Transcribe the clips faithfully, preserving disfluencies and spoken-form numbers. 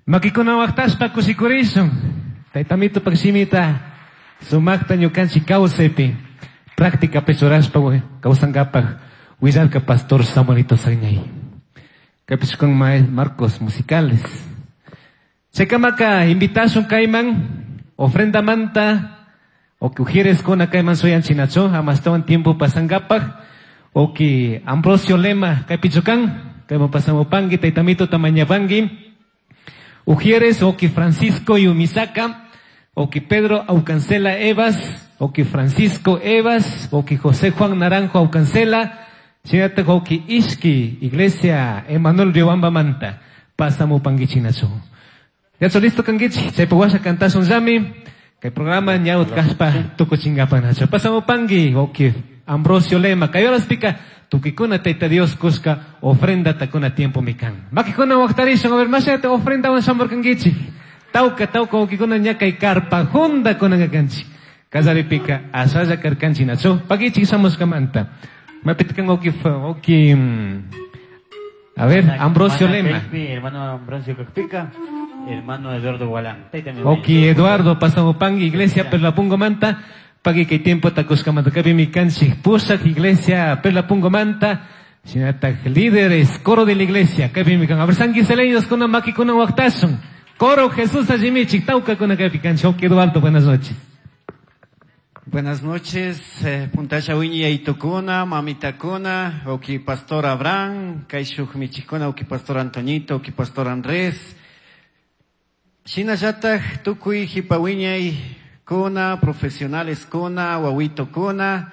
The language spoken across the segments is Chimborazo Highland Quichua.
Makikuna waqtashpa kushikurishun. Taytamito pakshimita sumaqta ñukanchik kawsaypi práctica churashpa kawsankapaq willarka pastor Samuelito Sagñay. Kaypish con marcos musicales. Chaykamaka invitashun kayman ofrenda manta o que ujieres kuna kayman suyanchinachu amastawan tiempo pasankapaq o que Ambrosio Lema kaypichukan kayman pasamupanki taytamito tamañapanki. Ujieres o que Francisco Yumisaka, o que Pedro Aucancela Evas, o que Francisco Evas, o que José Juan Naranjo Aucancela, Shinata o que Ishki, Iglesia Emanuel Riobamba Manta, pasamupanki chinachu. Ya listo kankichi, chaypa washa kantashun llami, kay programa ñawt kashpa tukuchinkapanachu. Pasamupanki, o que Ambrosio Lema, kay horaspika, tukikuna Tayta Dios kushka ofrenda takuna tiempo mikan. Makikuna waqtarishun, a ver, mashayata ofrenda wan shamurkankichik. Tawka, tawka wakikuna ña kay karpa junda kunankakanchik. Kallaripika ashalla karkanchik nachu. Pakichik shamushkamanta. Mapitkan oki, oki, a ver, Ambrosio Lema. Hermano Ambrosio Cacpica, hermano Eduardo Gualán. Oki Eduardo, pasamupangi, iglesia Perlapungo Manta. Pagi kay tiempo takuskamanta kapi mi kanchik pushak iglesia Perlapungo Manta. Shinataq líderes, coro de la iglesia, kapi mi kan. A ver, sanguiseleños kuna maki kuna waqtashun. Coro Jesús allimichik, tauka kuna kapi kanchik. Oki Eduardo, buenas noches. Buenas noches, eh, Puntasha Wiñi Aitukuna, Mamita Kuna, Oki Pastor Abraham, Kaishuj Michikuna, Oki Pastor Antoñito, Oki Pastor Andrés. Shinallataq tukuy hipawiñay kuna, profesionales kuna, wawito kuna,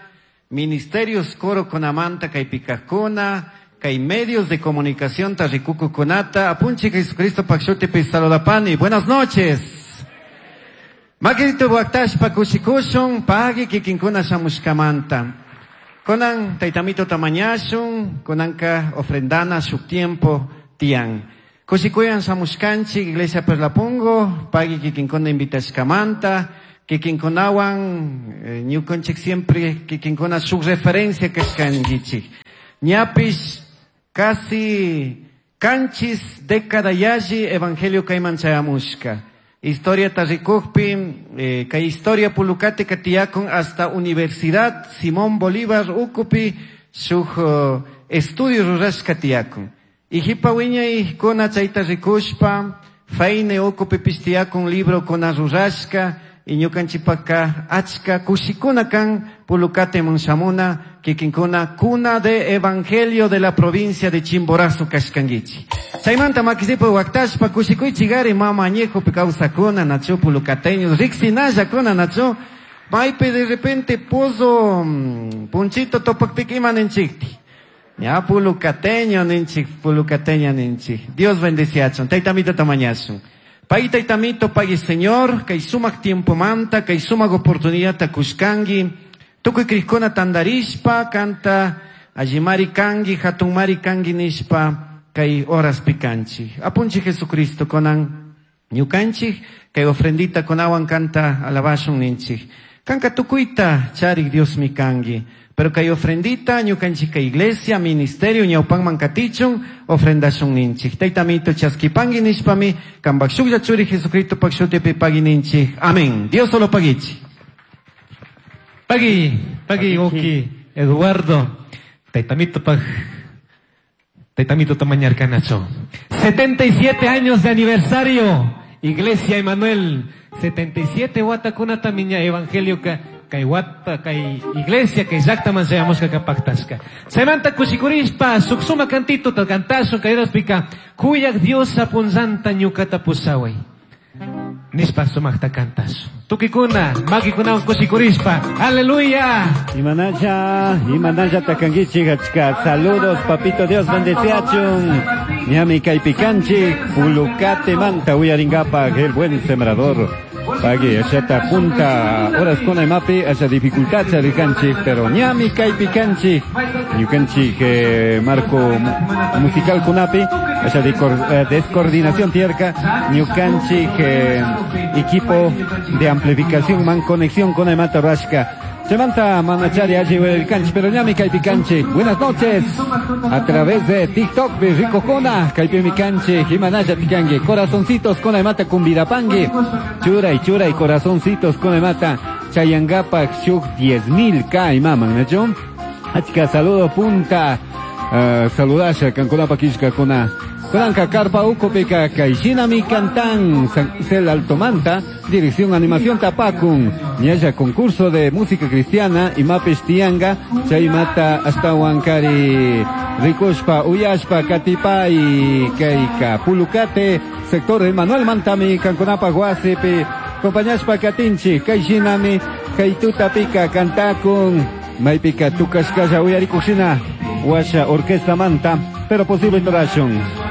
ministerios coro kunamanta kaypikaq kuna, kay medios de comunicación tarrikuku kunata, apunchi Jesucristo pakshutipi saludapani. Buenas noches. Makirito waqtashpa kushikushun, pagi kikinkuna shamushkamanta. Kunan taytamito tamañashun, kunanka ofrendana shuk tiempo tian. Kushikuyan shamushkanchik, iglesia Perlapungo, pagi kikinkuna invitashkamanta, kikinkunawan, eh, ñukanchik siempre kikinkuna shuk referencia kashkankichik. Ñapish casi kanchis década yalli evangelio kayman chayamushka. Historia tarrikukpi, eh, kay historia pulukate katiyakun hasta Universidad Simón Bolívar ukupi shuk uh, estudio rurashka tiyakun. Y hipa wiñay kuna chayta rikushpa, faine ukupi pishtiyakun libro kuna rurashka, y ñukanchipaka achka kushikuna kan pulukate munshamuna, kikinkuna cuna de evangelio de la provincia de Chimborazo kashkankichi. Chaymanta makisipu waqtashpa kushikuychigari mama añejopi kawsakuna nachu pulucateños riksinalla kuna nachu maypi de repente pozo punchito topakpika ima ninchikti. Ya pulucateño ninchik, pulucateña ninchik. Dios bendeciachun, taytamito tamañashun. Pagui taytamito, pagui Señor, kay sumak tiempo manta, kay sumak oportunidad kushkangi. Tukuy krishkuna tandarishpa, kanta allimari kangi, hatunmari kangi nishpa, kay horas pikanchik. Apunchi Jesucristo konan ñukanchik, kay ofrendita konawan kanta alabashun ninchik. Kanka tukuyta charik Dios mi kangi. Pero kay ofrendita, ñukanchik kay iglesia, ministerio, ñawpanman katichun, ofrendashun ninchik. Taytamito chaskipangi nishpami, kanpak shuklla churi Jesucristo pak shutipi pagui ninchik. Amén. Dios solo paguichi. Pagui, pagui, oki, Eduardo, taytamito pag, taytamito tamañarcanacho. setenta y siete años de aniversario, Iglesia Emanuel, setenta y siete watakuna tamiña evangelio ka, kay wata, kay iglesia, kay llaqtaman chayamushka kapaqtashka. Chaymanta kushikurishpa, suksuma cantito ta kantashun, kay Diospika, kuyaq Dios apunllanta ñuqata pushaway. Nishpa sumaqta kantashun. Tukikuna, makikunawan kushikurishpa. Aleluya. Imanalla, imanalla takankichik achka. Saludos, papito Dios bendeciachun. Ñami kaypikanchik, pulukate manta uyaringapaq, el buen sembrador. Pagui, ashata punta, horas con mapi, asa dificultad charikanchik, pero ñami kaypikanchik, ñukanchik, eh, marco musical kunapi, asa eh, descoordinación tierca, ñukanchik, eh, equipo de amplificación man conexión con mata rashka. Chaymanta manachari alli uyarikanchik, pero ñami kaypi kanchik. Buenas noches. A través de TikTok rikukuna, kaypimi kanchik, imanalla tikanki. Corazoncitos con mata kumbirapangui. Churay, churay, corazoncitos con mata. Chayangapak shuk diez mil K imaman, ¿no? Achka saludo punta. Uh, saludasha kankunapa kishkakuna. Kunanka karpa ukupika kayshinami kantan San José Altomanta, dirección animación tapakun. Ñalla concurso de música cristiana imapish tianga, chaymata hasta Huancari rikushpa uyashpa katipay kayka Pulucate, sector Emanuel Mantami kankunapa wasipi compañashpa katinchi kayshinami kaytutapika kantakun maypika tukashkalla uyarikushina washa orquesta manta, pero posible torashun.